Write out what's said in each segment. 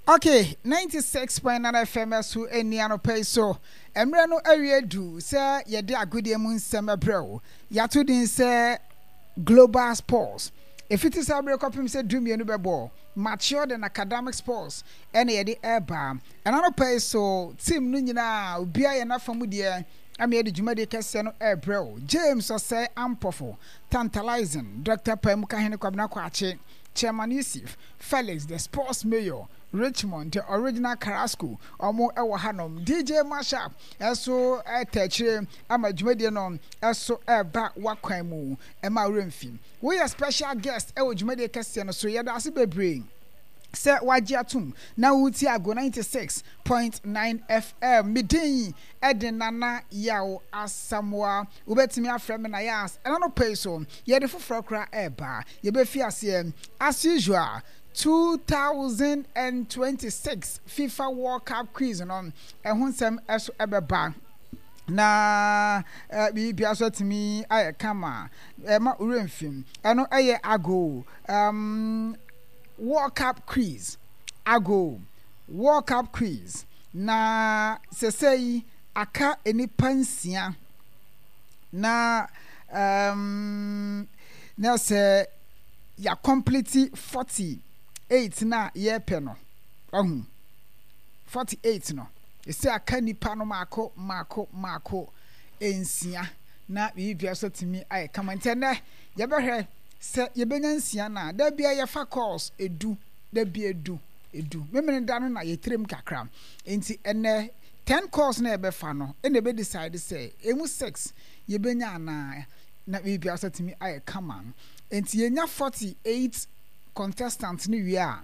Ok, 96.9 FM so ɛni anɔpa yi so. Mmerɛ no awie du sɛ yɛde agodie mu nsɛm brɛ wo. Yɛato din sɛ Global Sports. Ɛfiti saa berɛ kɔpem sɛ dumienu bɛbɔ, Matured and Academic Sports ɛna yɛde ɛreba. Ɛna anɔpa yi so, team no nyinaa, obiara yɛ n'afa mu deɛ ama yɛde dwumadie kɛseɛ no ɛrebrɛ wo. James Osei Ampofo, Tantalizing, Dr. Paimukahene Kwabena Kwakye, Chairman Yusif, Felix the sports mayor, Richmond the original Carrasco, ɔmo ɛwɔ hanom. DJ Mashup ɛso ɛta akyire ama dwumadie no ɛso ɛba wakwan mu ɛma werɛ mfi. Woyɛ special guest ɛwɔ dwumadie kɛseɛ no so, yɛda ase bebree sɛ wagye atom na woretie Ago 96.9 FM. Me din ɛde Nana Yaw Asamoah. Wobɛtumi afrɛ me Nayas. Ɛna no pɛ yi so, yɛde foforɔ koraa ɛreba. Yɛbɛfi aseɛ as usual 2026 FIFA World Cup quiz no ɛho nsɛm ɛso ɛbɛba na biribia so atumi ayɛ kama ɛma werɛ mfim ɛno ɛyɛ ago um, World Cup quiz ago World Cup quiz na sɛsɛyi aka nnipa nsia na um, na sɛ yɛakɔmplete 48 no a yɛrepɛ no, wahu, 48 no, ɛsɛ aka nnipa no maako maako maako nsia na biribiara nso atumi ayɛ kama. Nti ɛnɛ yɛbɛhwɛ sɛ yɛbɛnya nsia no a, da biara yɛfa calls edu, da biara edu, edu. Memene da no na yɛtirim kakra. Nti ɛnɛ 10 calls na yɛbɛfa no, ɛna ɛbɛ decide sɛ emu 6 yɛbɛnya anaa. Na biribiara nso atumi ayɛ kama. Enti yɛnya 48 contestants no wie a,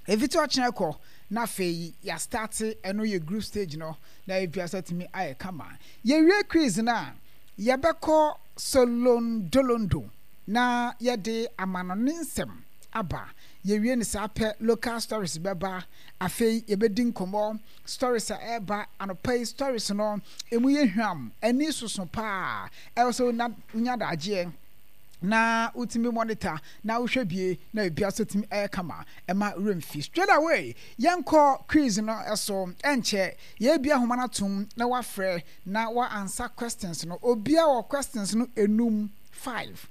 ɛfiti ɔkyena kɔ na afei yɛastarte ɛno yɛ group stage no na biribiara nso atumi ayɛ kama. Yɛwie quiz no a, yɛbɛkɔ Solondolondo na yɛde amanɔne nsɛm aba. Yɛwie no saa pɛ, local stories bɛba. Afei yɛbɛdi nkɔmmɔ, stories a ɛreba anɔpa yi, stories no, ɛmu yɛ hwam, ani soso paa. Ɛwɔ sɛ wonya adagyeɛ na wotumi monitor na wohwɛ bie na biribiara nso tumi ɛyɛ kama ɛma werɛ mfi. Straight away yɛnkɔ quiz no so ɛnkyɛ yɛbia ahoma no atom na wafrɛ na wa answer questions no. Obia wɔ questions no enum, five.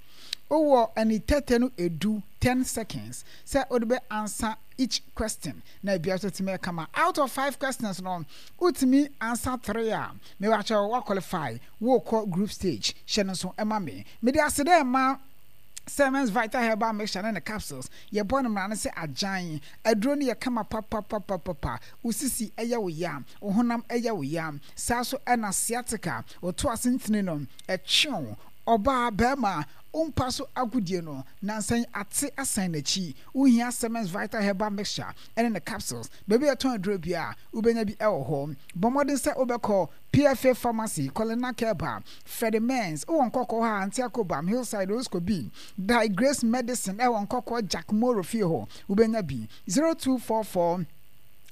Wowɔ ani tɛtɛ no edu, 10 seconds, sɛ wode bɛ answer each question na biribiara nso tumi ɛyɛ kama. Out of five questions no wotumi answer three a mewakyɛw wa qualify. Worekɔ group stage, hyɛ no nso ma me. Mede aseda rema Sermons Vital Herbal Mixture ne ne capsules. Yɛbɔ no mmara no sɛ agyan. Aduro no yɛ kama papapapapa. Wo sisi yɛ wo ya, wo honam yɛ wo ya. Saa nso na sciatica, wo to ase ntini no, ɛtwe wo. Ɔbaa, barima, wo mpa so agodie no, nansa yi ate asan n'akyi. Wohia Sermons Vital Herbal Mixture ne ne capsules. Baabi a yɛtɔn aduro biara, wobɛnya bi wɔ hɔ. Bɔ mmɔden sɛ wobɛkɔ PFA Pharmacy, Colina Kerber, Freddie Mens, wɔ Nkɔkɔɔ ha, Auntie Akobam, Hillside, Roscoe B, Thy Grace Medicine wɔ Nkɔkɔɔ Jack Moro fie hɔ, wobɛnya bi, 0244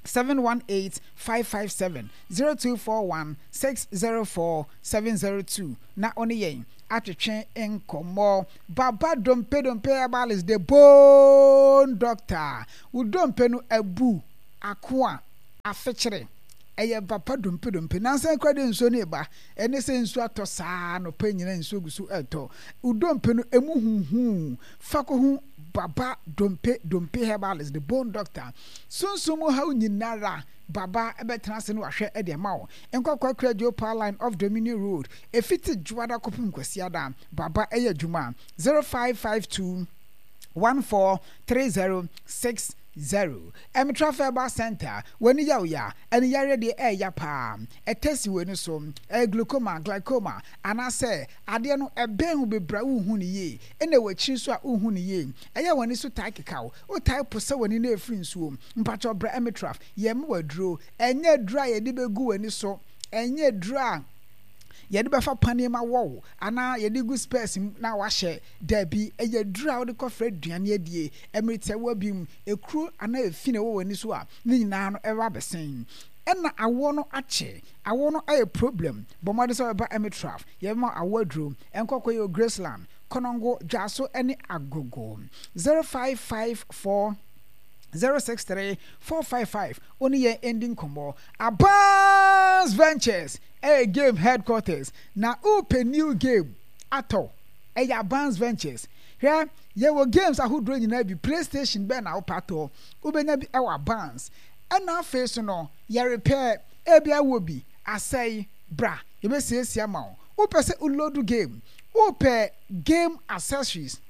718 557, 0241 604 702 na wo ne yɛn atwetwe nkɔmmɔ. Baba Dompe Dompe Herbalist, the bone doctor, wo dompe no abu, akoa, afekyere. Ɛyɛ papa dompe dompe. Nansa yi koraa deɛ nsuo no reba. Ɛne sɛ nsuo atɔ saa anɔpa yi nyinaa nsuo gu so retɔ. Wo dompe no ɛmu huhuu. Fa kɔhu Baba Dompe Dompe Herbalist, the bone doctor. Sunsum mu haw nyinara Baba bɛtena ase na wahwɛ de ama wo. Nkɔkɔ Akuradwo Power Line off Dominion Road. Ɛfiti Dwoada kɔpem Kwasiada. Baba yɛ adwuma. 0552 1430 0. Ɛmetra Herbal Center, w'ani yɛ wo ya, ani yareɛ deɛ ɛɛya paa, ɛtɛ si w'ani so, ɛyɛ glaucoma, glaucoma, anaasɛ adeɛ no ɛbɛn wo bebree a wonhu no yie, ɛna ɛwɔ akyiri nso a wonhu no yie, ɛyɛ a w'ani so tae keka wo, wotae posa w'ani na ɛfiri nsuo, mpakyɛw bra Ɛmetraf, yɛmma wo aduro, ɛnyɛ aduro a yɛde bɛgu w'ani so, ɛnyɛ aduro a yɛde bɛfa paneɛ mu awɔ wo anaa yɛde gu spɛɛs mu na wahyɛ, daabi, ɛyɛ aduro a wode kɔfra aduane adie, Mmere tiawa bi mu, ekuro anaa efi na ɛwɔ w'ani so a, ne nyinaa no ɛba abɛsen. Ɛna awoɔ no akyɛ. Awoɔ no ayɛ problem. Bɔ mmɔden sɛ wobɛba Emitraf. Yɛbɛma wo awoɔ aduro. Nkɔkɔ yɛ wɔ Graceland, Konongo, Dwaso ne Agogo. 0554. 063 455 wo ne yɛn ndi nkɔmmɔ. Abans Ventures ɛyɛ game headquarters na wopɛ new game atɔ ɛyɛ Abans Ventures. Hwɛ, yɛwɔ games ahodoɔ nyinaa bi, PlayStation bɛn na wopɛ atɔ, wobɛnya bi ɛwɔ Abans. Ɛna afei so no, yɛ repair, ebia wowɔ bi, asɛe, bra yɛbɛsiesie ama wo. Wopɛ sɛ wo load game, wopɛ game accessories,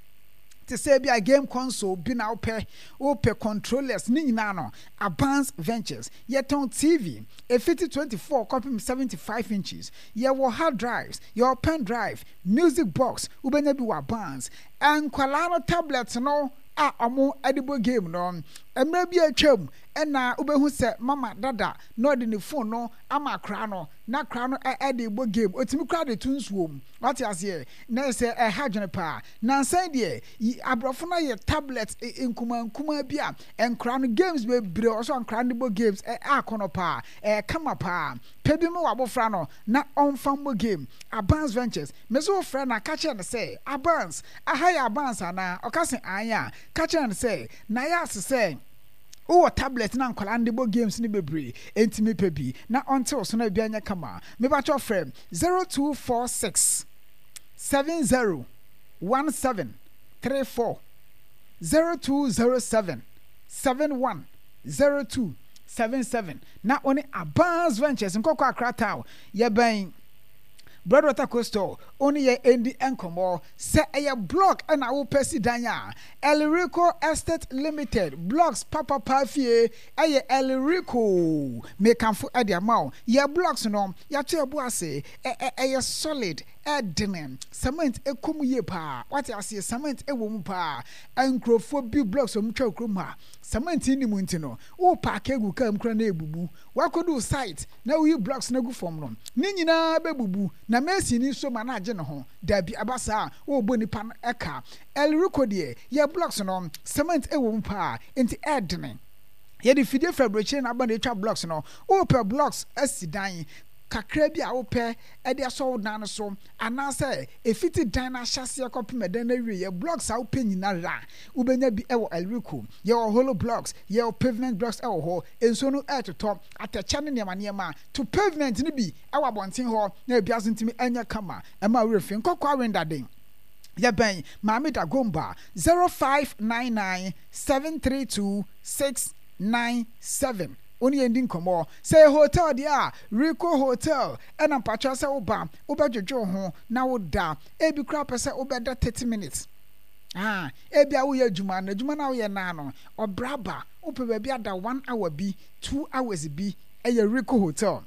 te sɛ ebia game console bi na wopɛ, wopɛ controllers, ne nyinaa no, Abans Ventures. Yɛtɔn TV, ɛfiti 24 kɔpem 75 inches. Yɛwɔ hard drives, yɛwɔ pen drive, music box, wobɛnya bi wɔ Abans. Nkwadaa no tablet no a wɔde bɔ game no, mmerɛ bi a atwam na wobɛhu sɛ mama dada na ɔde ne phone no ama akwadaa no, na akwadaa no de rebɔ game, ɔtumi koraa de to nsuo mu, wate aseɛ, na ɛsɛ ɛha adwene paa. Nansa yi deɛ, yi aborɔfo no ayɛ tablet nkumaa nkumaa bi a nkwadaa no games bebree wɔ so a nkwadaa no de bɔ games, ɛ akɔnɔ paa, ɛyɛ kama paa. Pɛ bi ma w'abofra no na ɔmfa mmɔ game. Abans Ventures, me so wofrɛ no a, ka kyerɛ no sɛ, Abans, aha yɛ Abans anaa? Ɔka se aane a, ka kyerɛ no sɛ, na ayɛ ase sɛ wowɔ tablet na nkwadaa no de bɔ games no bebree, enti mepɛ bi na ɔnte wo so na biribiara nyɛ kama. Mepakyɛw frɛ 0246 70 17 34, 0207 71 02 77 na wo ne Abans Ventures nkɔkɔ Accra Town, yɛbɛn Broadwater Coastal, wo ne yɛn ndi nkɔmmɔ. Sɛ ɛyɛ block na wopɛ si dan a, Elrico Estate Limited blocks papapa fie ɛyɛ Elrico. Mekamfo de ama wo. Yɛ blocks no, yɛato yɛn bo ase, ɛyɛ solid, ɛdene, cement kɔ mu yie paa. Wate aseɛ, cement wɔ mu paa. Nkurɔfoɔ bi blocks a wɔtwa wɔ kurom ha, cement nni mu nti no, wo paake agu kaa mu koraa na ɛrebubu. Woakɔdu site na woyi blocks no agu fam no, ne nyinaa bɛbubu na mason nso ma no agye ne ho. Dabi, ɛba saa a, worebɔ nipa no ka. Elrico deɛ, yɛ blocks no, cement wɔ mu paa, enti ɛredene. Yɛde fidie firi aburokyire na aba na ɛtwa blocks no. Wopɛ blocks asi dan kakra bi a wopɛ de asɔ wo dan no so, anaasɛ ɛfiti dan no ahyɛaseɛ kɔpem ɛdan no awieɛ, blocks a wopɛ nyinara, wobɛnya bi wɔ Elrico. Yɛwɔ hollow blocks, yɛwɔ pavement blocks wɔ hɔ. Nsuo no retotɔ, atɛkyɛ ne nneɛma nneɛma. To pavement no bi wɔ abɔnten hɔ na ebiara nso ntumi nyɛ kama. Ɛmma wo werɛ mfi. Nkɔkɔɔ Awendaden. Yɛbɛn Maame Dagomba, 0599 732 697. Wo ne yɛn di nkɔmmɔ. Sɛ ɛyɛ hotel deɛ a, Rico Hotel ɛna mpakyɛw sɛ woba, wobɛdwodwo wo ho na woda. Ebi koraa wopɛ sɛ wobɛda 30 minutes. Ah, ebia woyɛ adwuma na adwuma no a woyɛ no ara no, ɔbrɛ aba. Wopɛ baabi ada one hour bi, 2 hours bi, ɛyɛ Rico Hotel.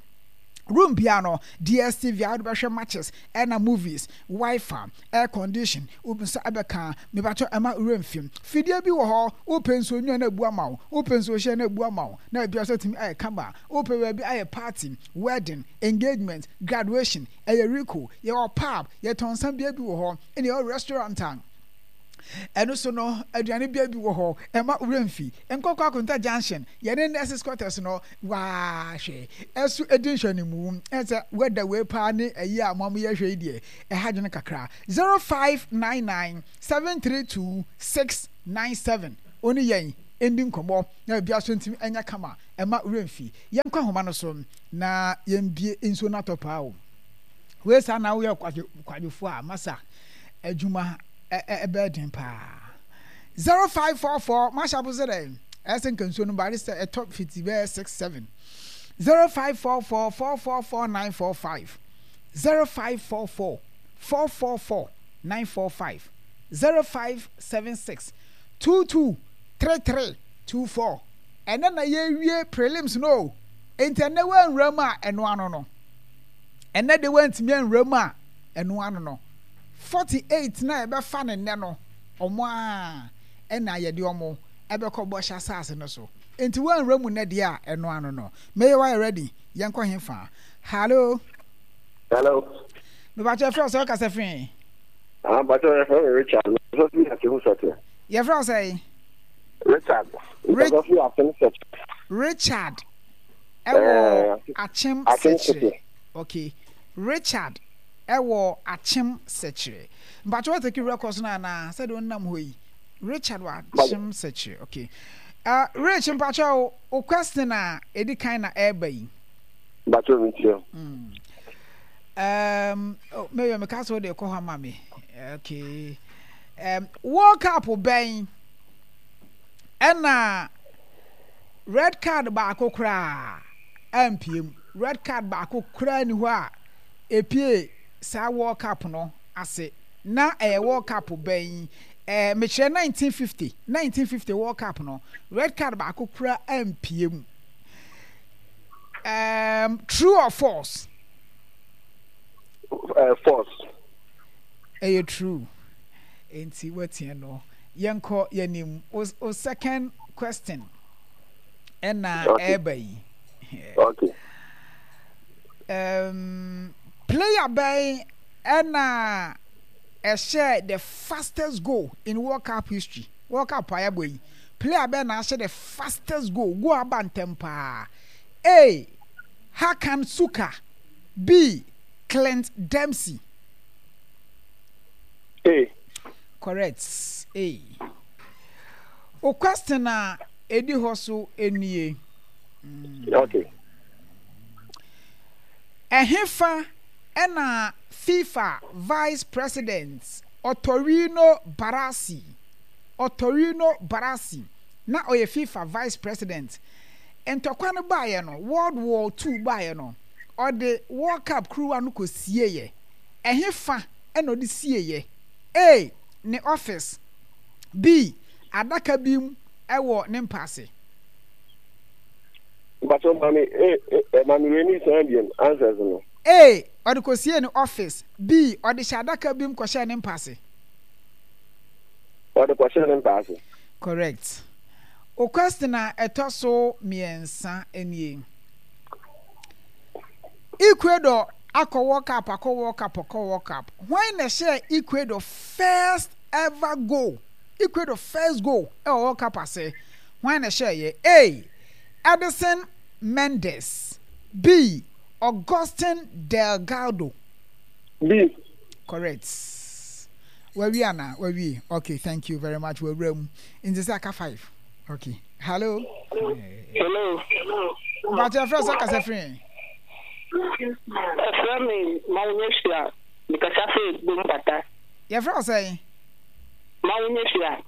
Room biara no, DSTV a wode bɛhwɛ matches ɛna movies, Wi-Fi, air condition, wo nsa ɛbɛka. Mepakyɛw ɛma wo werɛ mfi. Fidie bi wɔ hɔ, wopɛ nsuo nwunu a na abu ama wo, wopɛ nsuo hyɛ na abu ama wo, na biribiara nso atumi ayɛ kama. Wopɛ baabi ayɛ party, wedding, engagement, graduation, ɛyɛ Rico. Yɛwɔ pub, yɛtɔn nsa bea bi wɔ hɔ, ɛna yɛwɔ restaurant a ɛno so no aduane bea bi wɔ hɔ. Ɛmma wo werɛ mfi. Nkɔkɔ Akonta Junction, yɛne Nurses Quarters no waa hwɛ ɛso ɛdi nhwɛnimu. Ɛsɛ wɛda wei paa ne ɛyi a mo yɛ hwɛ yi deɛ ɛha dwene kakra. 0599 732 697 wo ne yɛn ndi nkɔmmɔ na biribiara so ntumi ɛnyɛ kama. Ɛmma wo werɛ mfi. Yɛnkɔ ahoma no so na yɛmbie nsuo no atɔ paa o. Wei saa na woyɛ kwadwofoɔ a masa adwuma ɛbɛyɛ den paa. 0544 mahyɛ abo sɛ dɛn ɛyɛ sɛ nka nsuo no ba sɛ ɛtɔ fiti bɛyɛ 6 7 0544 444 945 0544 444 945 0576 22 33 24 ɛnɛ na yɛwie prelims no o enti ɛnɛ woanwura mu a ɛno ano no ɛnɛ de woantumi anwura mu a ɛno ano no 48 na yɛbɛfa ne nnɛ no wɔn ara na yɛde wɔn bɛkɔ bɔhyɛ asase no so. Enti woanwura mu nnɛ deɛ a, ɛno ano no. Meyɛ woayɛ ready? Yɛnkɔ hefa? Hallo? Hello. Mepakyɛ yɛfrɛ wo sɛ wokasa firi he? Ah, mpakyɛ yɛfrɛ me Richard. Mekasa firi Akyem Sɛkyɛ. Yɛfrɛ wo sɛn? Richard. Mekasa firi Akyem Sɛkyɛ. Richard ɛwɔ Akyem Sɛkyerɛ. Okay. Richard ɛwɔ Akyem Sɛkyerɛ. Mpakyɛ wa take records no anaa? Sɛdeɛ wonam hɔ yi. Richard wɔ Akyem Sɛkyerɛ. Okay. Rich mpakyɛw wo question a edi kan na ɛreba yi. Mpakyɛw mi tie. Oh, maybe me ka so de kɔ hɔ ama me. Okay. World Cup bɛn ɛna red card baako koraa ampie mu. Red card baako koraa ni hɔ a epie saa World Cup no ase. Na ɛyɛ World Cup bɛn? Eh, mekyerɛ 1950, 1950 World Cup no, red card baako koraa ampie mu. Um, true or false? False. Ɛyɛ true. Enti watia no. Yɛnkɔ yɛnim. O, o second question. Ɛna ɛreba yi. Okay. Player bɛn ɛna ɛhyɛɛ the fastest goal in World Cup history? World Cup a yɛabɔ yi, player bɛn na ahyɛ the fastest goal, goal aba ntɛm paa? A. Hakan Suker B. Clint Dempsey. A. Correct. A. O question a ɛdi hɔ so nie. Okay. Ɛhefa na FIFA Vice President Ottorino Barassi, Ottorino Barassi, na ɔyɛ FIFA Vice President. Ntɔkwa no baeɛ no, World War II baeɛ no, ɔde World Cup kuruwa no kɔsieeɛ. Ɛhefa na ɔde sieeɛ? A. Ne office. B. Adaka bi mu wɔ ne mpa ase. Mpatsɔ ma me eh eh ma me wei ne san biom answers no. A. Ɔde kɔsiee ne office. B. Ɔde hyɛ adaka bi mu kɔhyɛɛ ne mpa ase. Ɔde kɔhyɛɛ ne mpa ase. Correct. Wo question a ɛtɔ so mmiɛnsa nie. Ecuador akɔ World Cup akɔ World Cup akɔ World Cup. Hwan na ɛhyɛɛ Ecuador first ever goal? Ecuador first goal ɛwɔ World Cup ase. Hwan na ɛhyɛeɛ? A. Edison Mendez B. Augustin Delgado. B. Correct. Wawie ana? Wawie. Okay, thank you very much. Wawura mu. Nti sɛ aka 5. Okay. Hello. Hello. Mpakyɛ ɛfrɛ sɛ kasa firi. Ɛfrɛ me Mawunyɛ Sua. Mekasa firi Bompata. Yɛfrɛ wo sɛn? Mawunyɛ Sua.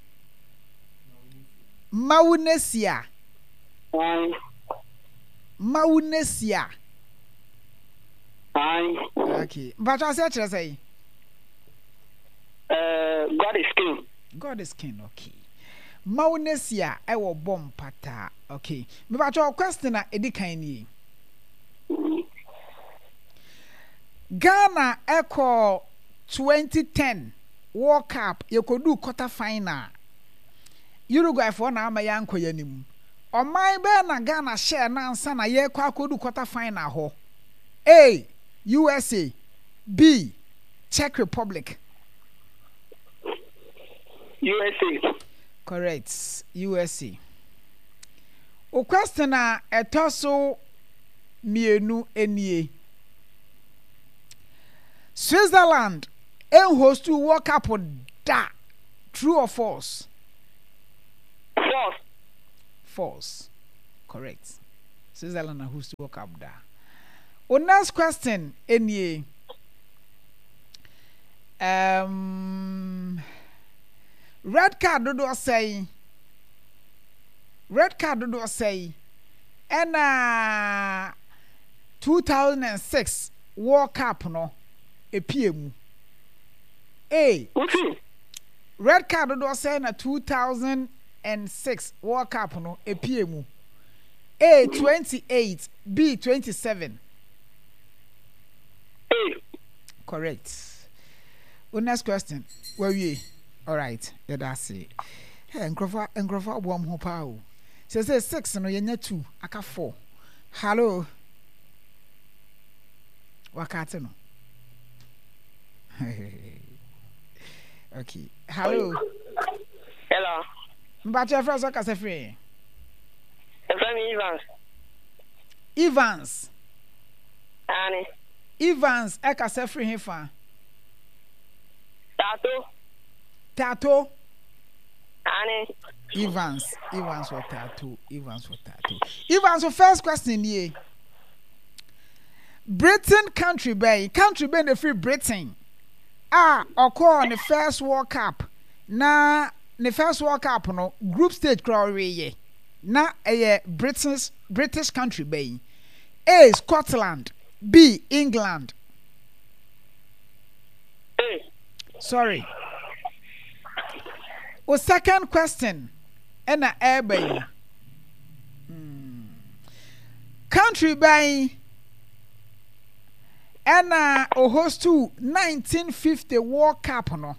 Mawunesia. Mawunesia. Okay. Mpatsɔ aseɛ kyerɛ sɛn? God is king. God is king. Okay. Mawunesia ɛwɔ bɔ mpata. Okay. Mpatsɔ question a edi kan nie. Ghana ɛkɔ 2010 World Cup yɛkɔduu quarter final. Uruguayfoɔ na amma yɛankɔ yɛn anim. Ɔman bɛn na Ghana hyɛɛ no ansa na yɛrekɔ akɔdu quarter final hɔ? A. USA B. Czech Republic. USA. Correct, USA. Wo question a ɛtɔ so mmienu nie. Switzerland nhostuu World Cup da. True or false? False. False. Correct. Switzerland na host World Cup da. O next question nie. Um, red card dodoɔ sɛn? Red card dodoɔ sɛn? Ɛna 2006 World Cup no epie mu. A. Red card dodoɔ sɛn na 2006 World Cup no ɛpue mu? A 28, B 27. A. Correct. Wo next question. Wawie. Alright. Yɛda ase. Hey, nkurɔfoɔ nkurɔfoɔ aboa mo ho paa o. Sɛ 6 no yɛnya 2 aka 4. Hello. Wakate no. Okay. Hello. Hello. Mpakyɛ ɛfrɛ sɛ kasa firi. Ɛfrɛ me Evans. Evans. Ane. Evans ɛkasa firi he fa? Tato. Tato. Aane. Evans, Evans wɔ tattoo, Evans wɔ tattoo. Evans, wo first question nie. Britain country bɛn, country bɛn na ɛfiri Britain a ɔkɔɔ ne first World Cup na ne first World Cup no group stage koraa ɔweeɛ na ɛyɛ British, British country bɛn? A. Scotland, B. England. A. Sorry. O second question ɛna ɛreba yi. Hmm. Country bɛn ɛna ohostu 1950 World Cup no?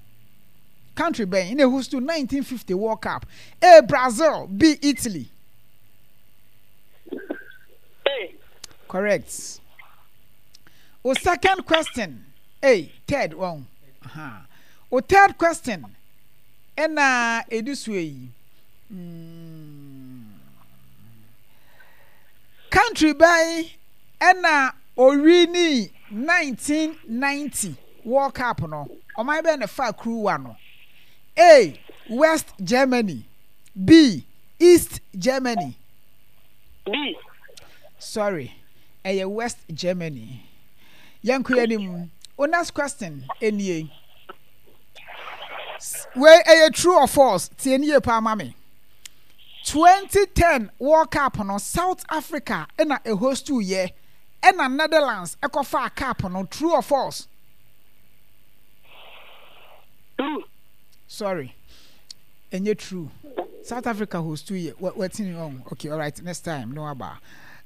Country bɛn ɛna ohostu 1950 World Cup? A. Brazil, B. Italy. A. Correct. O second question. A. Third one. Uh-huh. O third question ɛna ɛdi soɔ yi. Mm. Country bɛn ɛna owinii 1990 World Cup no? Ɔman bɛn na ɛfaa kuruwa no? A. West Germany B. East Germany B. Sorry, ɛyɛ West Germany. Yɛnkɔ yɛn anim. O next question nie. Wei ɛyɛ true or false? Tie nie paa ma me. 2010 World Cup no South Africa na ɛhostu yɛ ɛna Netherlands ɛkɔfaa cup no true or false? True. Sorry. Ɛnyɛ true. South Africa hostu yɛ watini ɔn okay alright next time no aba.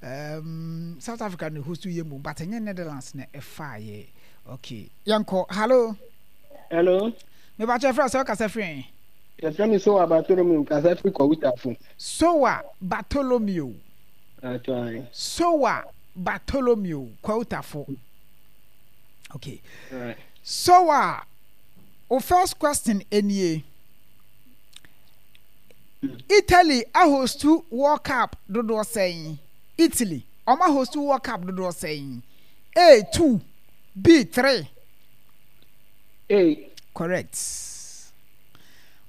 Um, South Africa na hostu yɛ mu but ɛnyɛ Netherlands na ɛfaa yɛ. Okay. Yɛnkɔ. Hello. Hello. Mepakyɛ frɛ sɛ ɔkasa firi. Yɛfrɛ me Sowa Bartholomew, mekasa firi Kɔwutafo. Sowa Bartholomew. Sowa Bartholomew, Kɔwutafo. Okay. Right. Sowa, o first question nie. Italy ahostu World Cup dodoɔ sɛn? Italy, wɔn ahostu World Cup dodoɔ sɛn? A 2, B 3. A. Correct.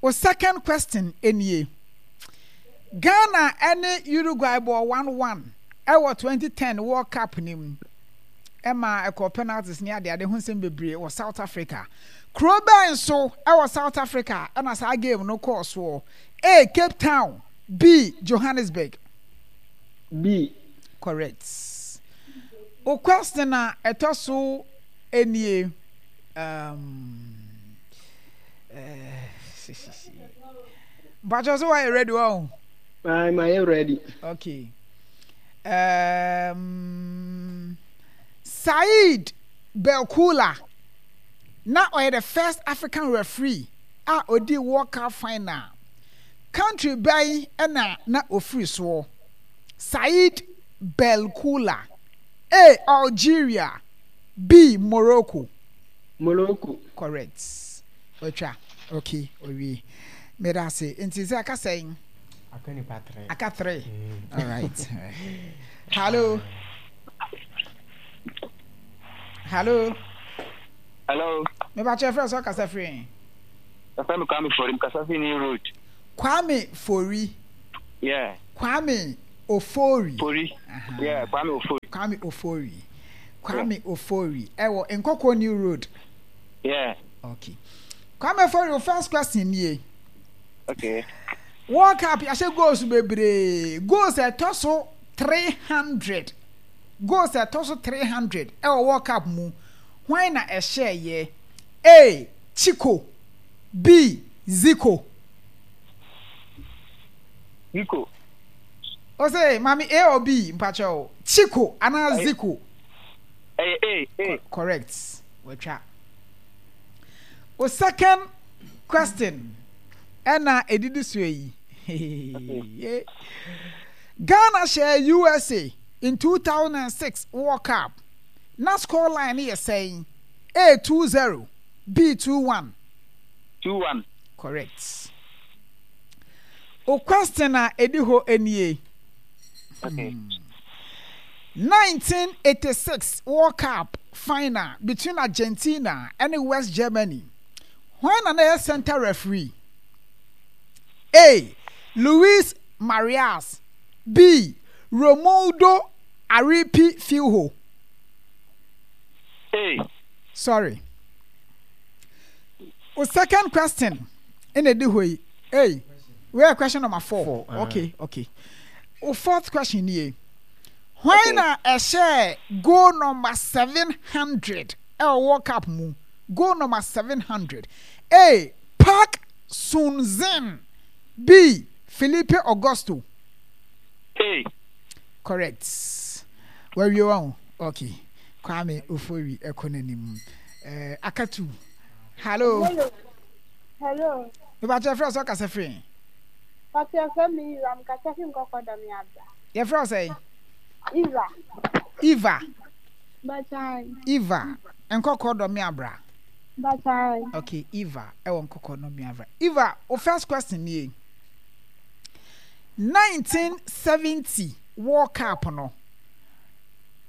Wo second question nie. Ghana ne Uruguay bɔɔ 1-1 wɔ 2010 World Cup no mu. Ɛma ɛkɔɔ penalties ne adeade ho nsɛm bebree wɔ South Africa. Kuro bɛn so wɔ South Africa na saa game no kɔɔ soɔ? A. Cape Town B. Johannesburg. B. Correct. Wo question a ɛtɔ so nie. Um, Mpakyɛ so wayɛ ready wɔ ho? Ayi ma yɛ ready. Okay. Um, Said Belkula na ɔyɛ the first African referee a odi World Cup final. Country bɛn na na ofiri soɔ? Said Belkula. A. Algeria. B. Morocco. Morocco. Correct. Watwa. Okay, owie. Meda ase. Nti sɛ aka sɛn? Aka nipa three. Aka three. Mm. All right. Hello. Hello. Hello. Me ba kyerɛ frɛ sɛ ɔkasa firi. Yɛfrɛ me Kwame Fori, mekasa firi New Road. Kwame Fori. Yeah. Kwame Ofori. Fori. Yeah, Kwame Ofori. Kwame Ofori. Kwame Ofori. Ɛwɔ Nkɔkɔ New Road. Yeah. Okay. Kwame Ofori, your first question nie. Okay. World Cup yɛahyɛ goals bebree. Goals ɛtɔ so 300. Goals ɛtɔ so 300 ɛwɔ World Cup mu. Hwan na ɛhyɛɛ yɛ? A. Chico. B. Zico. Zico. Ose, mami A or B, mpakyɛw. Chico anaa Zico? Ɛyɛ A, A. Correct. Watwa. O second question ɛna edidi so yi. Ghana hyɛɛ USA in 2006 World Cup. Na score line no yɛ sɛn? A 2-0, B 2-1. 2-1. Correct. O question a edi hɔ nie. Okay. 1986 World Cup final between Argentina and West Germany. Hwan na na ɛyɛ center referee? A. Luis Marias B. Romualdo Aripi Filho. A. Sorry. O second question ɛna ɛdi hɔ yi. Hey, we are question number four. Four, uh. Okay, okay. O fourth question nie. Hwan na ɛhyɛɛ goal number 700 ɛwɔ World Cup mu? Goal number 700. A. Park Sun-zin B. Felipe Augusto. A. Correct. Wawie wa ho. Okay. Kwame Ofori ɛkɔ n'anim. Eh, akatu. Hello. Hello. Hello. Mepakyɛ frɛ sɛ ɔkasa firi. Pakyɛ frɛ me Eva, mekasa fi nkɔkɔ dɔ me abra. Yɛfrɛ wo sɛn? Eva. Eva. Bachan. Eva, nkɔkɔ dɔ me abra. Bachan. Okay, Eva, ɛwɔ nkɔkɔ dɔ me abra. Eva, wo first question nie. 1970 World Cup no,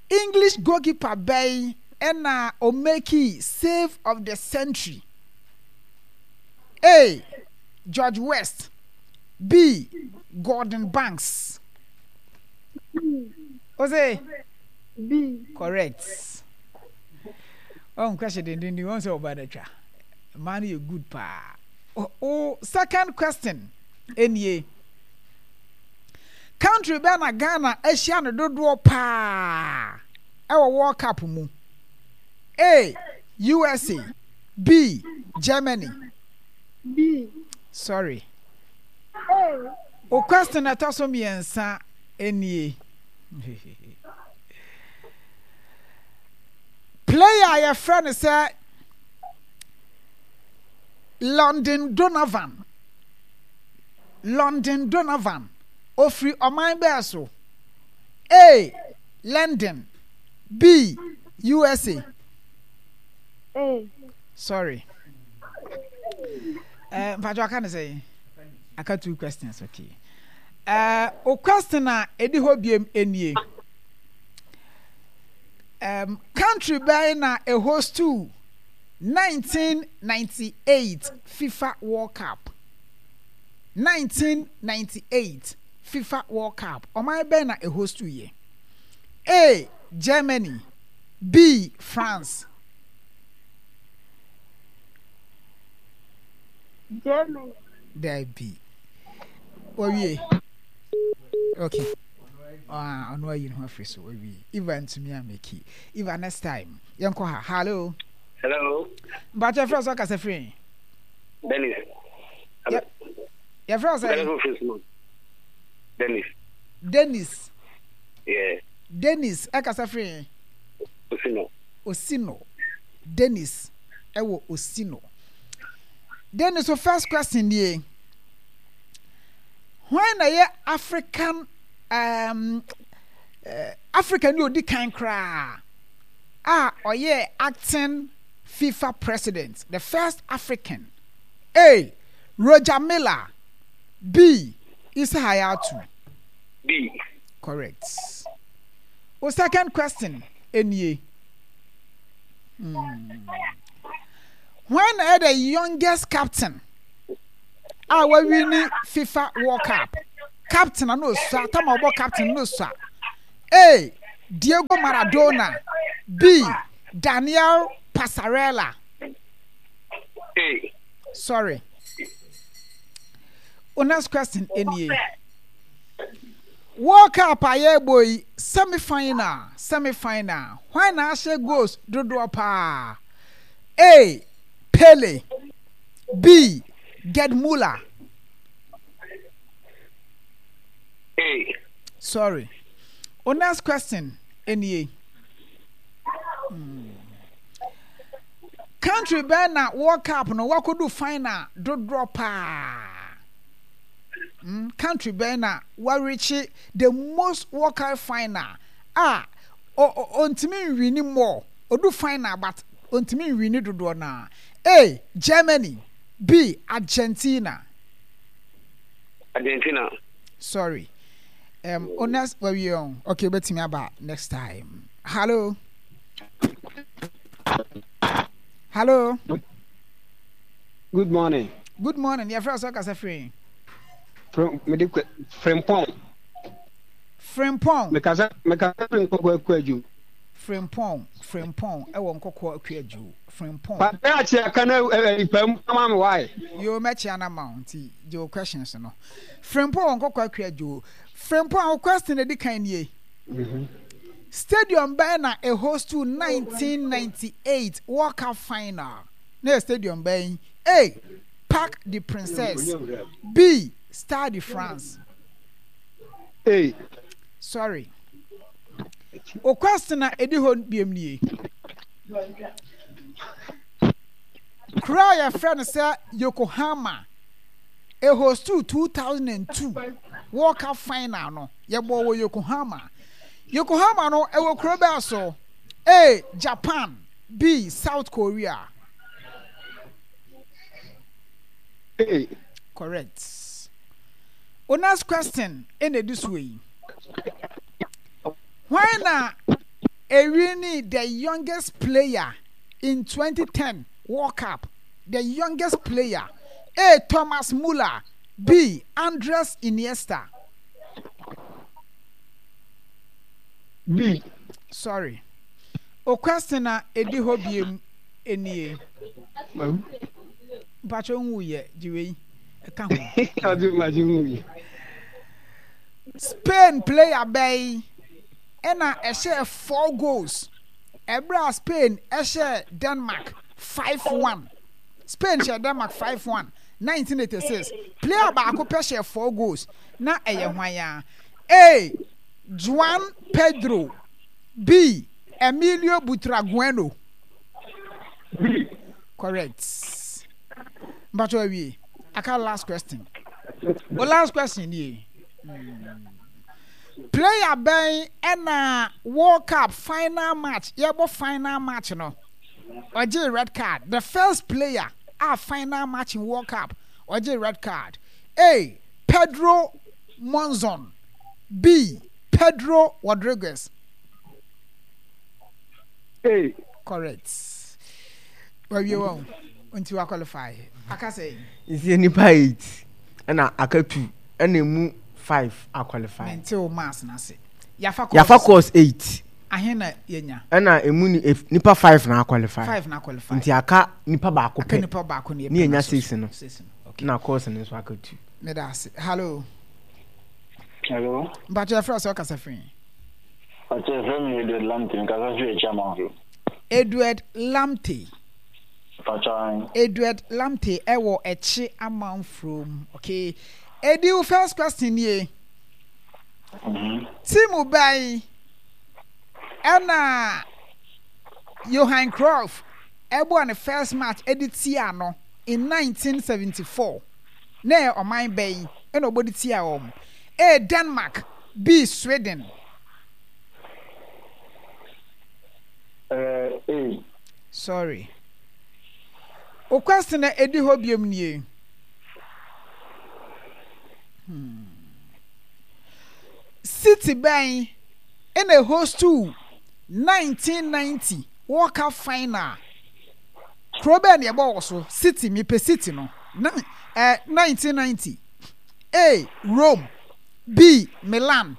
English goalkeeper bɛn ɛna omeki save of the century? A. George West B. Gordon Banks. B. Ose? B. Correct. Oh, question dendenden wɔn sɛ ɔbaa no atwa. Mmaa no yɛ good paa. O second question nie. Country bɛn na Ghana ahyia no dodoɔ paa ɛwɔ World Cup mu? A. USA B. Germany. B. Sorry. A. O question ɛtɔ so mmiɛnsa nie. Player a yɛfrɛ no sɛ London Donovan. London Donovan. Ofiri ɔman bɛɛ so? A. London. B. USA. A. Sorry. Eh, mpacho aka ne sɛ aka two questions okay. Eh, o question a edi hɔ biem enie. Um, country bɛn na e host to 1998 FIFA World Cup? 1998 FIFA World Cup. Ɔman bɛn na e host to yɛ? A. Germany B. France. Germany. Dabi. Wawie. Okay. Ah, ɔno ayi ne ho afiri so wawie. Eva ntumi ameki. Eva next time. Yɛnkɔ ha. Hello. Hello. Mpakyɛ frɛ sɛ ɔkasa firi. Dennis. Yɛfrɛ wo sɛ. Dennis. Dennis. Yeah. Dennis ɛkasa firi. Osino. Osino. Dennis ɛwɔ Osino. Dennis so first question nie. Hwan na ɛyɛ African um, uh, Africa ni odi kan koraa a ɔyɛ acting FIFA president, the first African. A. Roger Miller. B. Issa Hayatou. B. Correct. O second question nie. Hmm. Hwan na ɛyɛ the youngest captain a wawini FIFA World Cup? Captain a na osua, tam a ɔbɔ captain na osua. A. Diego Maradona. B. Daniel Passarella. A. Sorry. O next question nie. World Cup a yɛrebɔ yi, semi final, semi final, hwan na ahyɛ goals dodoɔ paa? A. Pele B. Gerd Muller. A. Sorry. O next question nie. Hmm. Country bɛn na World Cup no wakɔdu final dodoɔ paa? Hmm, country bɛn na warekye the most World Cup final a ɔntumi nwini more, ɔdu final but ɔntumi nwini dodoɔ no a. A. Germany B. Argentina. Argentina. Sorry. Um, honest, wawie ɔn. Okay, wobɛtumi aba next time. Hello. Hello. Good morning. Good morning. Yɛfrɛ sɛ ɔkasa firi. Mede Frimpong. Frimpong. Mekasa mekasa firi Nkɔkɔ Akuadwo. Frimpong Frimpong ɛwɔ Nkɔkɔ Akuadwo Frimpong. Papa akyea ka na nipa mu ama me why. Yoo mɛkyea no ama wo nti gye wo questions no. Frimpong wɔ Nkɔkɔ Akuadwo. Frimpong wo question edi kan nie. Stadium bɛn na ɛhostu 1998 World Cup final? Na yɛ stadium bɛn? A. Parc des Princes B. Stade de France. A. Sorry. O question a ɛdi hɔ biom nie. Kuro a yɛfrɛ no sɛ Yokohama ɛhostu 2002 World Cup final no yɛbɔɔ wɔ Yokohama. Yokohama no ɛwɔ kuro bɛɛ so? A. Japan B. South Korea. A. Correct. O next question ɛna ɛdi soɔ yi. Hwan na ɛwini the youngest player in 2010 World Cup? The youngest player. A. Thomas Muller. B. Andres Iniesta. B. Sorry. O question a ɛdi hɔ biem nie. Mpakyɛ nwu yɛ gye wei ɛka ho. Spain player bɛyi ɛna ɛhyɛɛ 4 goals ɛberɛ a Spain ɛhyɛɛ Denmark 5-1. Spain hyɛɛ Denmark 5-1 1986. Player baako pɛ hyɛɛ 4 goals na ɛyɛ hwan a? A. Juan Pedro B. Emilio Butragueno. B. Correct. Mpacho awie. Aka last question. O last question nie. Hmm. Player bɛn ɛna World Cup final match yɛbɔ final match no ɔgye red card. The first player a final match in World Cup ɔgye red card. A. Pedro Monzon. B. Pedro Rodriguez. A. Correct. Wawie wɔn nti wa qualify. Aka sɛ. Nti nipa 8 ɛna aka 2 ɛna emu 5 a qualify. Mente wo maths na se. Yafa course. Yafa course 8. Ahe na yenya. Ɛna emu ni nipa 5 na qualify. 5 na qualify. Nti aka nipa baako pɛ. Aka nipa baako na yenya 6 no. 6 no. Okay. Na course no nso aka 2. Meda ase. Hello. Hello. Mpakyɛ yɛfrɛ sɛ ɔkasa firi. Mpakyɛ yɛfrɛ me Edward Lamptey mekasa firi Akyiamanfo. Edward Lamptey. Mpakyɛ ahen. Edward Lamptey ɛwɔ Ɛkye Amanfrom. Okay. Edi wo first question nie. Mm -hmm. Team bɛn ɛna Johan Cruyff ɛbɔɔ ne first match ɛde tia no in 1974. Na ɛyɛ ɔman bɛn ɛna ɔbɔ de tia wɔn? A. Denmark B. Sweden. Uh, A. Sorry. O question a ɛdi hɔ biom nie. Hmm. City bɛn ɛna hostu 1990 World Cup final. Kuro bɛn na ɛbɔ wɔ so? City, mepɛ City no. Na, eh, 1990. A. Rome. B. Milan.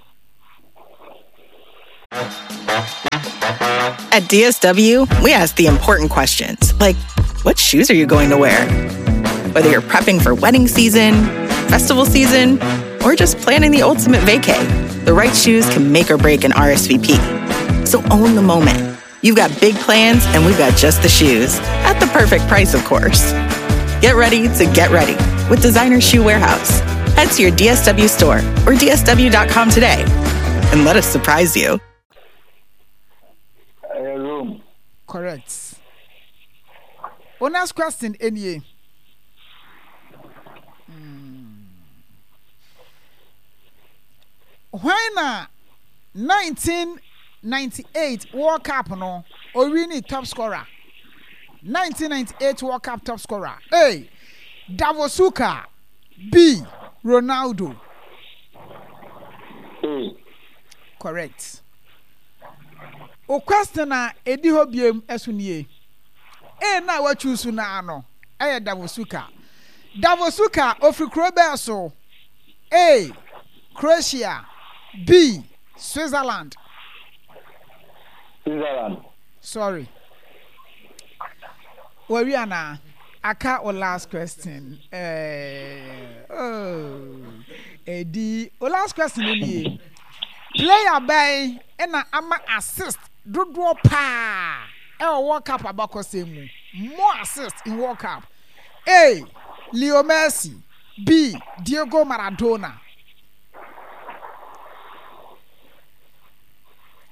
At DSW, we ask the important questions like what shoes are you going to wear? Whether you're prepping for wedding season, festival season, or just planning the ultimate vacay, the right shoes can make or break an RSVP. So own the moment. You've got big plans, and we've got just the shoes at the perfect price, of course. Get ready to get ready with Designer Shoe Warehouse. Head to your DSW store or DSW.com today and let us surprise you. Rome. Correct. O next question, nie. Hmm. Hwan na 1998 World Cup no owini top scorer? 1998 World Cup top scorer. A. Davor Suker. B. Ronaldo. A. Correct. O question a edi hɔ biem ɛso nie. A na wachuusu naa no ɛyɛ Davor Suker. Davor Suker ofiri kuro bɛɛ so? A. Croatia B. Switzerland. Switzerland. Sorry. Wawie anaa? Aka wo last question. Eh, oh. Edi, wo last question no nie. Player bɛn na ama assist dodoɔ paa ɛwɔ World Cup abakɔsɛm mu? More assist in World Cup. A. Leo Messi B. Diego Maradona.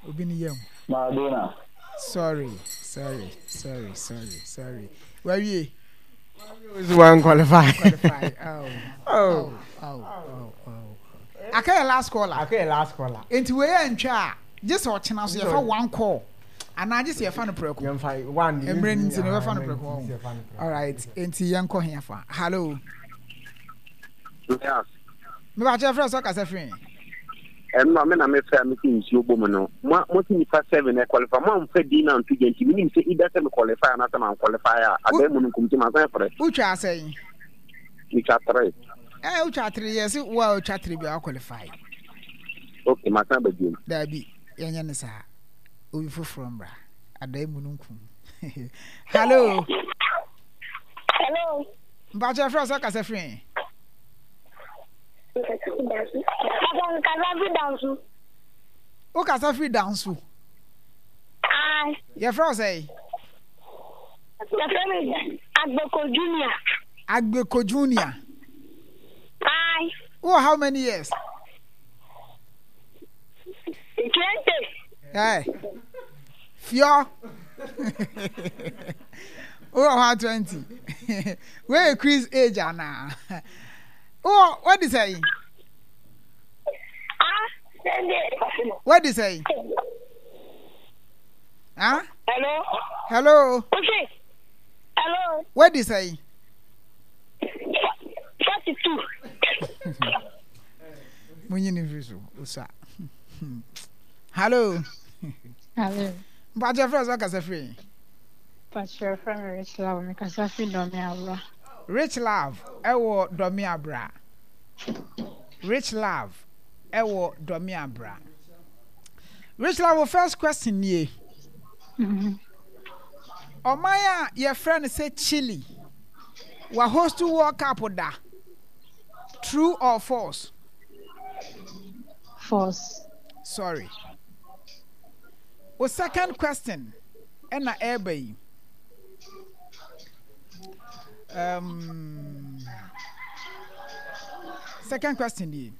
Obi ni yam. Maradona. Sorry, sorry, sorry, sorry, sorry. Wawie. One qualify. Qualify. Oh. Oh. Oh. Oh. Oh. Aka yɛ last caller. Aka yɛ last caller. Nti wei yɛ ntwa a, gye sɛ ɔkyena so yɛfa one call. Anaa gye sɛ yɛfa no prɛko. Yɛmfa one. Mmerɛ no nti no yɛbɛfa no prɛko. All right. Nti yɛnkɔ he afa. Hello. Yes. Mebakyɛ frɛ sɛ ɔkasa firi. Ɛno a me na mefrɛ a mese nsuo bɔ mu no, mo mo se nipa seven ɛ qualify, mo amfa din no anto dwa nti menim sɛ either sɛ me qualify anaasɛ man qualify a, adan mu no nkum nti masan frɛ. Wotwa sɛn? Metwa three. Eh, wotwa three, yɛse wo a wotwa three bia wo qualify. Okay, masan aba biom. Daabi, yɛnyɛ ne saa. Obi foforɔ mmra. Adan mu no nkum. Hello. Hello. Mpakyɛ frɛ sɛ ɔkasa firi. Kasa firi Danso. Wo kasa firi Danso. Aye. Yɛfrɛ wo sɛn? Yɛfrɛ me Agbeko Junior. Agbeko Junior. Aye. Wowɔ how many years? 20. Hey. Fiɔ. Wowɔ hɔ a 20. Wei yɛ Chris age anaa? Wowɔ wadi sɛn? Wadi sɛn? Ah? Hello. Hello. Hello. Wadi sɛn? 42. Munyi ne mfiri so. Osa. Hello. Hello. Mpakyɛ frɛ sɛ ɔkasa firi. Mpakyɛ frɛ me Rich Love, mekasa firi Dɔme Abra. Rich Love ɛwɔ Dɔme Abra. Rich Love ɛwɔ Dɔme Abra. Rich Love, wo first question nie. Mm-hmm. Ɔman a yɛfrɛ no sɛ Chile, wa host World Cup da. True or false? False. Sorry. Wo second question ɛna ɛreba yi. Um, second question yi.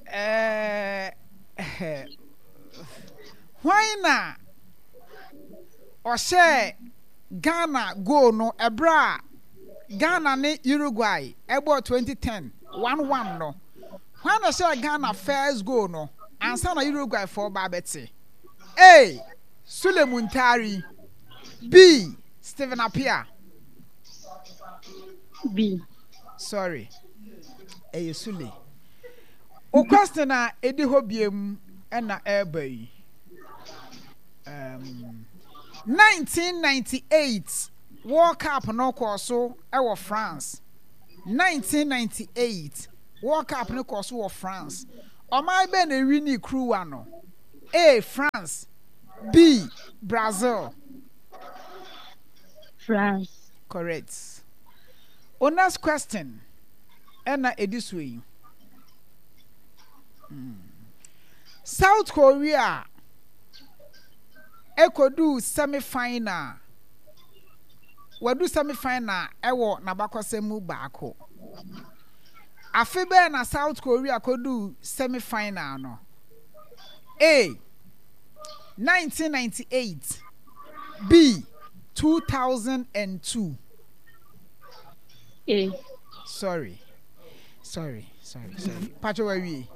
Eh, hwan na ɔhyɛɛ Ghana goal no ɛberɛ a Ghana ne Uruguay ɛbɔɔ 2010 1-1 no? Hwan na ɔhyɛɛ Ghana first goal no ansa na Uruguay foɔ ba abɛte? A. Sule Muntari B. Stephen Appiah B. Sorry, ɛyɛ Sule. O question a ɛdi hɔ biem ɛna ɛreba yi. Um, 1998 World Cup no kɔɔ so ɛwɔ France. 1998 World Cup no kɔɔ so wɔ France. Ɔman bɛn na ɛwinii kuruwa no? A. France B. Brazil. France. Correct. O next question ɛna ɛdi so yi. Hmm. South Korea ɛkɔduu semi final. Wadu semi final ɛwɔ n'abakɔsɛm mu baako. Afe bɛn na South Korea kɔduu semi final no? A. 1998 B. 2002 A. Sorry. Sorry, sorry, sorry. Pacho wawie.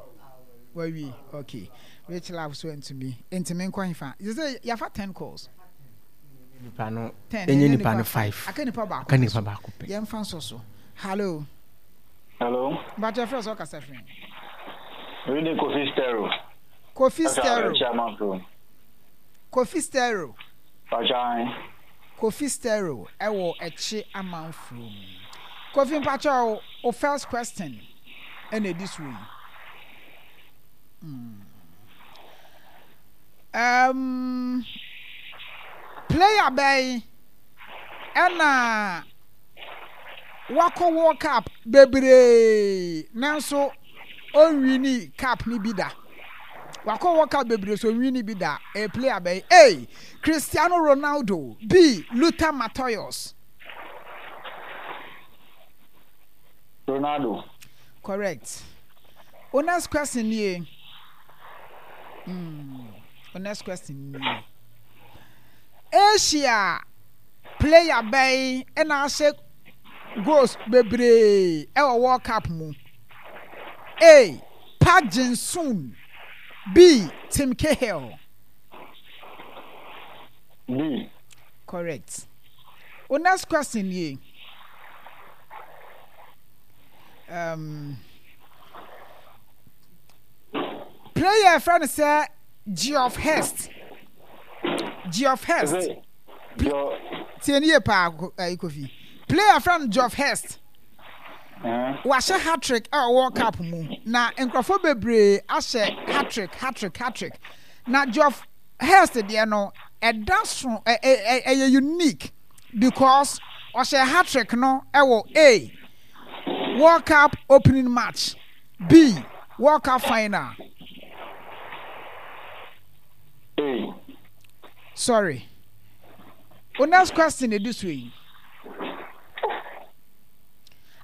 Wawie. Okay. Rich love so ntumi. Ntumi nkɔ hefa. You say yafa 10 calls. Nipa no. 10. Enye nipa no 5. Aka nipa baako. Aka nipa baako pɛ. Yɛmfa nso so. Hello. Hello. Mpakyɛ frɛ sɛ ɔkasa firi. Reading Kofi Stereo. Kofi Stereo. Kofi Stereo. Mpakyɛ. Kofi Stereo ɛwɔ ɛkye amanfuro mu. Kofi mpakyɛ o first question. ɛna ɛdi soɔ yi. Hmm. Um, player bɛn ɛna wakɔ World Cup bebree nanso ɔnwini cup no bi da? Wakɔ World Cup bebree so ɔnwini bi da. Ɛyɛ player bɛn? A. Cristiano Ronaldo. B. Luther Matthäus. Ronaldo. Correct. Wo next question nie. Mm, wo next question nie. Asia player bɛn na ahyɛ goals bebree ɛwɔ World Cup mu? A. Park Jin-soon. B. Tim Cahill. B. Correct. Wo next question nie. Um, player yɛfrɛ no sɛ Geoff Hurst. Geoff Hurst. Tie ne yie paa eh, Kofi. Player yɛfrɛ no Geoff Hurst. Wahyɛ hat-trick ɛwɔ World Cup mu na nkurɔfoɔ bebree ahyɛ hat-trick hat-trick hat-trick na Geoff Hurst deɛ no ɛda so ɛyɛ unique because ɔhyɛ hat-trick no ɛwɔ A World Cup opening match, B World Cup final. A. Sorry. O next question edi so yi.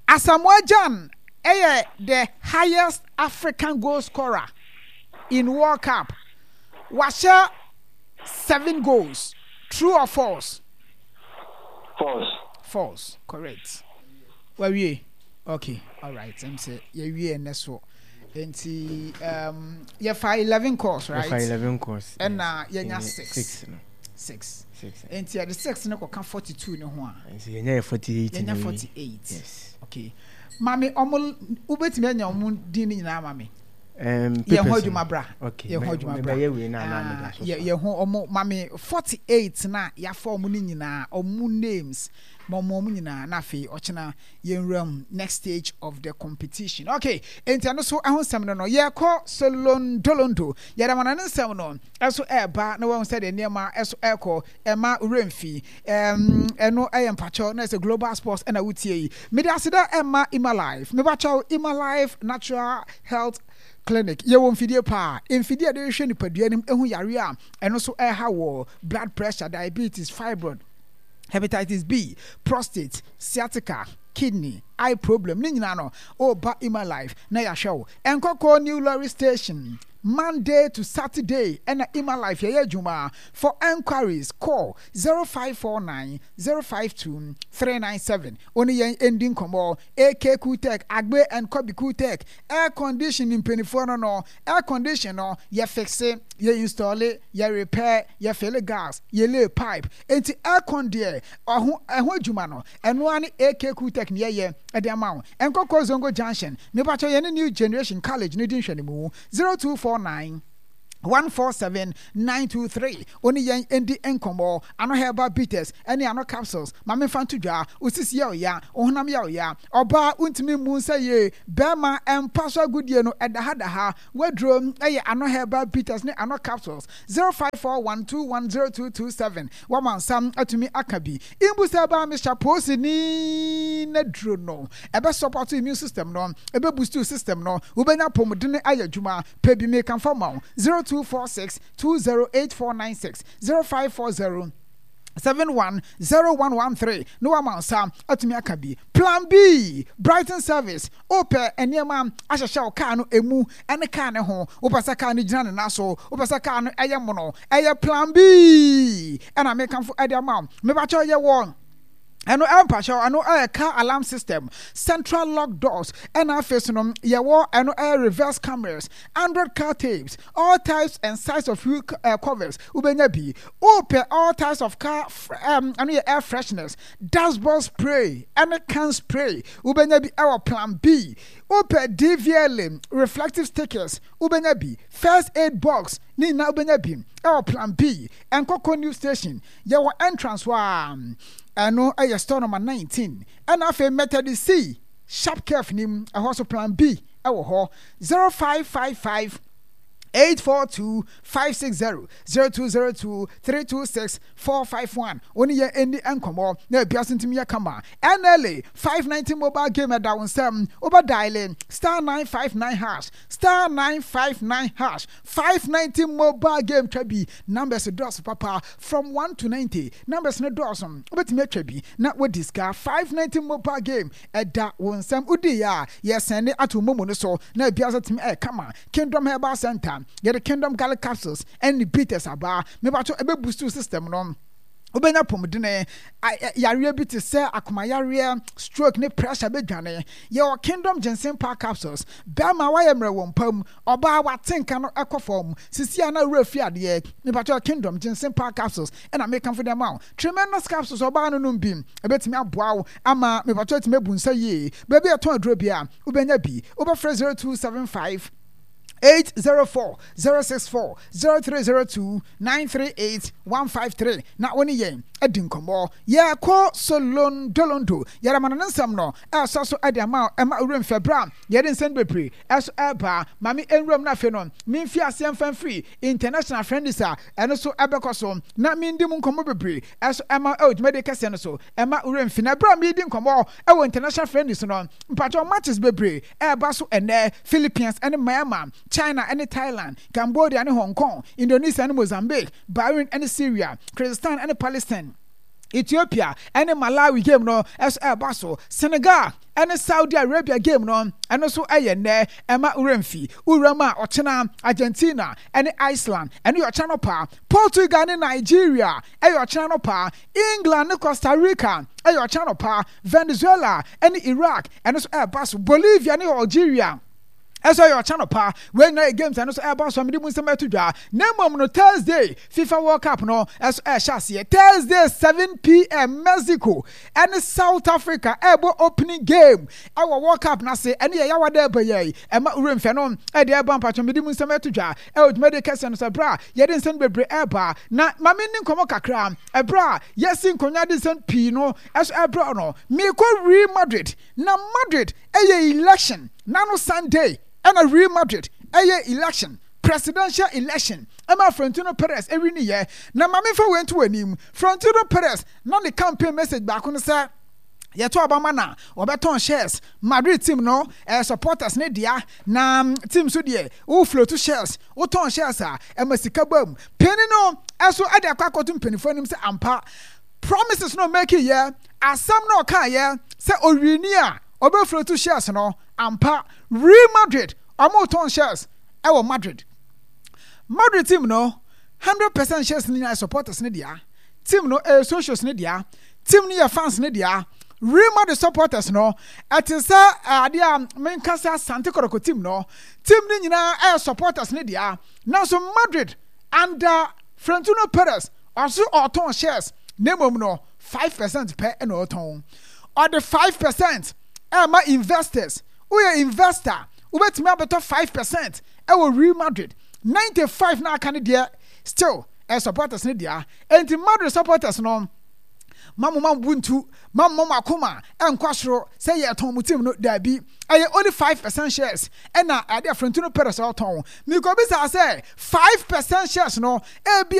Asamoah Gyan yɛ the highest African goal scorer in World Cup. Wahyɛ 7 goals. True or false? False. False, correct. Wawie? Okay, alright. Ɛm sɛ yɛwie ɛnɛ so. Nti um, yɛfa 11 calls, right? Yɛfa 11 calls. Ɛna yɛnya 6. 6 no. 6. Nti yɛde 6 no kɔka 42 no ho a. Nti yɛnya yɛ 48. Yɛnya 48. Yes. Okay. Mame ɔmo wobɛtumi anya ɔmo din no nyinaa ma me. Yɛ ho adwuma bra. Okay. Yɛ ho adwuma bra. Ah, yɛ ho ɔmo mame 48 na yɛafa ɔmo no nyinaa ɔmo names ma ɔmo ɔmo nyinaa na afei ɔkyena yɛnwura mu next stage of the competition. Okay, enti ɛno so ɛho nsɛm no no yɛkɔ Solondolondo yɛde ama no ne nsɛm no ɛso ɛreba na wɔahu sɛdeɛ nneɛma ɛso ɛrekɔ ɛma werɛ mfi ɛm ɛno ɛyɛ mpakyɛw na ɛsɛ global sports ɛna wotie yi mede aseda ɛma Ima Life mepakyɛw Ima Life Natural Health Clinic yɛwɔ mfidie paa mfidie a yɛde hwehwɛ nipadua no mu ɛhu yareɛ a ɛno so ɛha wɔ blood pressure diabetes fibroid hepatitis B, prostate, sciatica, kidney, eye problem ne nyinaa no woba Ima Life na yɛahwɛ wo. Nkɔkɔɔ New Lorry Station, Monday to Saturday ɛna Ima Life yɛyɛ adwuma. For enquiries call 0549 052 397. Wo ne yɛn ndi nkɔmmɔ. AK Cooltech, Agbe and Kobi Cooltech, Air condition mpaninfoɔ no no, air condition no yɛ fixe, yɛ installe, yɛ repair, yɛ fille gas, yɛ lay pipe, enti air con deɛ ɔho ɛho adwuma no ɛno ara ne AK Cool Tech ne yɛyɛ de ama wo. Nkɔkɔ Zongo Junction, mepakyɛw yɛne New Generation College no di nhwɛnimu, 0249 147 923 Wo ne yɛn ndi nkɔmmɔ. Ano herbal bitters ne ano capsules ma memfa nto dwa. Wo sisi yɛ wo ya, wo honam yɛ wo ya. Ɔbaa wontumi mmu nsa yie, barima mpa so agodie no ɛda ha da ha. W'aduro yɛ ano herbal bitters ne ano capsules. 0541210227 Wama nsa atumi aka bi. Imbusa herbal mixture poosini n'aduro no ɛbɛ support immune system no, ɛbɛ boost wo system no, wobɛnya apɔmuden ayɛ adwuma. Pɛ bi mekamfo ama wo. 0246 208496 0540 710113 na wama nsa atumi aka bi. Plan B, Brighton Service, Wopɛ nneɛma ahyehyɛ wo kaa no emu ne kaa no ho, wopɛ sɛ kaa no gyina ne nan so, wopɛ sɛ kaa no yɛ mono, ɛyɛ Plan B ɛna mekamfo de ama wo. Mepakyɛw yɛwɔ ɛno ɛmpakyɛw ɛno ɛyɛ car alarm system, central lock doors, ɛna afei so no yɛwɔ ɛno ɛyɛ reverse cameras, android car tapes, all types and size of wheel covers wobɛnya bi. Wopɛ all types of car ɛno yɛ air fresheners, dashboard spray ɛne can spray wobɛnya bi ɛwɔ plan B. Wopɛ DVLA reflective stickers wobɛnya bi, first aid box ne nyinaa wobɛnya bi ɛwɔ plan B. Nkɔkɔ new station yɛwɔ entrance hɔ a ɛno ɛyɛ store number 19 ɛna afei Methodist C sharp curve nim ɛhɔ so plan B. wɔ hɔ. 0555 842 560 0202 326 451 Wo ne yɛn nni nkɔmmɔ na ebiase ntumi yɛ kama. NLA 590 mobile game ɛda wo nsam. Wobɛ diale star 959 hash, star 959 hash, 590 mobile game twa bi. Numbers dɔɔso papa, from 1 to 90. Numbers no dɔɔso, wobɛtumi atwa bi na woadi sika. 590 mobile game ɛda wo nsam. Wodii a, yɛsɛnde ato wo momo no so na ebiase atumi ayɛ kama. Kingdom Herbal Center, yɛde Kingdom Garlic Capsules ɛne bitters aba. Mepakyɛw, ɛbɛ boost wo system no. Wobɛnya apɔmudene. Yareɛ bi te sɛ akomayareɛ, stroke ne pressure bɛdwane. Yɛwɔ Kingdom Ginseng Power Capsules. Bɛrima woayɛ mmerɛ wɔ mpa mu, ɔbaa wate nka no ɛkɔ fam, sisi a na werɛ fi adeɛ. Mepakyɛw, Kingdom Ginseng Power Capsules ɛna mekamfo de ama wo. Tremendous Capsules, ɔbaa no nom bi, ɛbɛtumi aboa wo ama mepakyɛw atumi abu nsa yie. Baabi a yɛtɔn aduro biara, wobɛnya bi. Wobɛfrɛ 0275 804 064 0302 938 153 na wo ne yɛn adi nkɔmmɔ. Yɛrekɔ Solondolondo. Yɛde no nsɛm no ɛresɔ so de ama wo. Ɛma wo werɛ mfi berɛ a yɛde nsɛm bebree ɛso ɛreba. Ma me nwuram no afei no memfi aseɛ mfa mfiri International Friendlies a ɛno nso ɛbɛkɔ so na mendi mu nkɔmmɔ bebree ɛso ɛma ɛwɔ dwumadie kɛseɛ no so. Ɛma wo werɛ mfi. Na berɛ a meredi nkɔmmɔ ɛwɔ International Friendlies no, mpakyɛw matches bebree ɛreba so ɛnnɛ, Philippines ne Myanmar, China ne Thailand, Cambodia ne Hong Kong, Indonesia ne Mozambique, Bahrain ne Syria, Kyrgyzstan ne Palestine, Ethiopia ne Malawi game no nso ɛreba so, Senegal ne Saudi Arabia game no ɛno nso ɛyɛ nnɛ, ɛma werɛ mfi. Wuram a ɔkyena Argentina ne Iceland, ɛno yɛ ɔkyena anɔpa, Portugal ne Nigeria ɛyɛ ɔkyena anɔpa, England ne Costa Rica ɛyɛ ɔkyena anɔpa, Venezuela ne Iraq ɛno nso ɛreba so, Bolivia ne Algeria ɛnso ɛyɛ ɔkyena anɔpa. Wei nyinaa yɛ games ɛno nso ɛreba so a mede mu nsɛm ɛto dwa. Na mmom no Thursday FIFA World Cup no ɛnso ɛrehyɛ aseɛ. Thursday 7pm Mexico ɛne South Africa ɛrebɔ opening game ɛwɔ World Cup no ase. Ɛne yɛ yawa dɛ ɛba yɛ ɛma wura mfɛ no ɛde ɛba mpatwɔ mede mu nsɛm ɛto dwa ɛwɔ dwumadie kɛseɛ no so ɛberɛ a yɛde nsɛm bebree ɛreba. Na ma menni nkɔmmɔ kakra ɛberɛ a yɛasi nkonnwa de nsɛm pii no ɛso ɛbrɛ no. Mekɔ Real Madrid na Madrid ɛyɛ election nano Sunday ɛna Real Madrid ɛyɛ election, presidential election ɛma Florentino Perez ɛwiniyɛ. Na ma memfa wei nto w'anim, Florentino Perez na ne campaign message baako ne sɛ yɛto aba ma na wɔbɛtɔn shares, Madrid team no ɛyɛ supporters ne dea, na team so deɛ wo float shares, wotɔn shares a ɛma sika ba mu. Panin no ɛso ɛde akɔ akɔto mpanimfoɔ anim sɛ ampa promises no ɔmake yɛ, asɛm no ɔkaeɛ sɛ owini a ɔbɛ float shares no, ampa Real Madrid ɔmo tɔn shares ɛwɔ Madrid. Madrid team no 100% shares no nyinaa supporters ne dea, team no ɛyɛ socials ne dea, team no yɛ fans ne dea. Real Madrid supporters no ɛte sɛ adeɛ a menka sɛ Asante Kɔtɔkɔ team no, team no nyinaa ɛyɛ supporters ne dea. Nanso Madrid under Florentino Perez ɔso ɔtɔn shares, na mmom no 5% pɛ na ɔtɔn. Ɔde 5% ɛma investors. Woyɛ investor, wobɛtumi abɛtɔ 5% ɛwɔ Real Madrid. 95 na aka no deɛ still ɛyɛ supporters ne dea. Enti Madrid supporters no, ma mo ma mo bo ntu, ma mo ma mo akoma ɛnkɔ soro sɛ yɛtɔn mo team no, daabi. Ɛyɛ only 5% shares ɛna ɛde Florentino Perez ɔtɔn. Mikobisa sɛ 5% shares no ebi